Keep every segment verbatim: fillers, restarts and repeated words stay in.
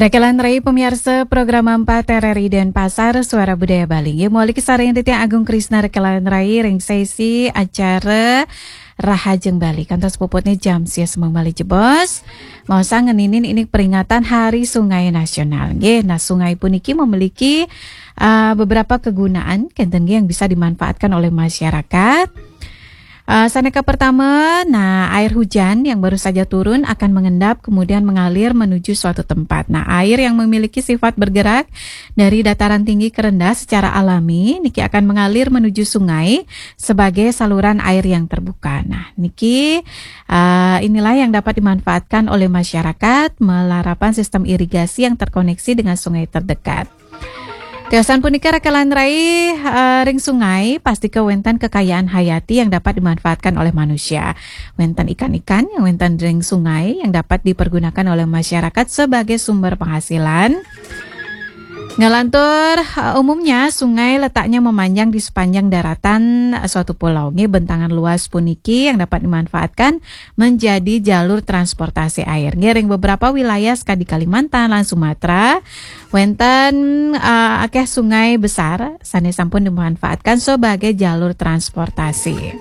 Rekelan rai pemirsa program empat R R I Denpasar, Suara Budaya Bali. Nggih, mawali kasarengin titiang Agung Krisna rekelan rai ring sesi acara Rahajeng Bali. Kantos puputnya jam sia semeng malih jebos. Maosang ngeninin indik peringatan Hari Sungai Nasional. Nggih, nah, sungai puniki memiliki, uh, beberapa kegunaan, kenten nggih, yang bisa dimanfaatkan oleh masyarakat. Uh, sane kapertama, nah, air hujan yang baru saja turun akan mengendap kemudian mengalir menuju suatu tempat. Nah, air yang memiliki sifat bergerak dari dataran tinggi ke rendah secara alami niki akan mengalir menuju sungai sebagai saluran air yang terbuka. Nah, niki, uh, inilah yang dapat dimanfaatkan oleh masyarakat malarapan sistem irigasi yang terkoneksi dengan sungai terdekat. Tiosan punika rekelan rai, eh, ring sungai, pastika wenten kekayaan hayati yang dapat dimanfaatkan oleh manusia. Wenten ikan-ikan yang wenten ring sungai yang dapat dipergunakan oleh masyarakat sebagai sumber penghasilan. Ngalantur, eh, umumnya sungai letaknya memanjang di sepanjang daratan, eh, suatu pulau. Nggih, bentangan luas puniki yang dapat dimanfaatkan menjadi jalur transportasi air. Nggih, ring beberapa wilayah sekadi Kalimantan lan Sumatera, wenten, eh, akeh sungai besar sane sampun dimanfaatkan sebagai jalur transportasi.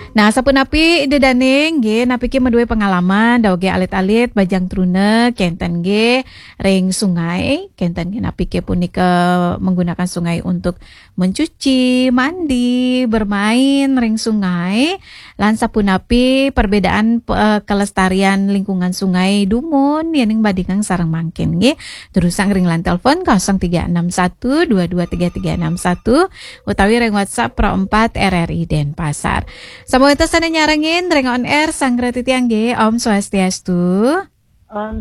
Nah, sapunapi Ida Dane, nggih, napike madue pengalaman, dauge alit-alit, bajang truna, kenten nggih, ring sungai, kenten nggih, napike punika menggunakan sungai untuk mencuci, mandi, bermain ring sungai, lan sapunapi perbedaan, eh, kelestarian lingkungan sungai dumun, yening bandingang sareng mangkin, nggih. Terusang ring line telepon kosong tiga enam satu dua dua tiga tiga enam satu utawi ring WhatsApp Pro empat R R I Denpasar. Sampun wenten sane nyarengin ring on air, sanggra titiang nggih, Om Swastiastu. Om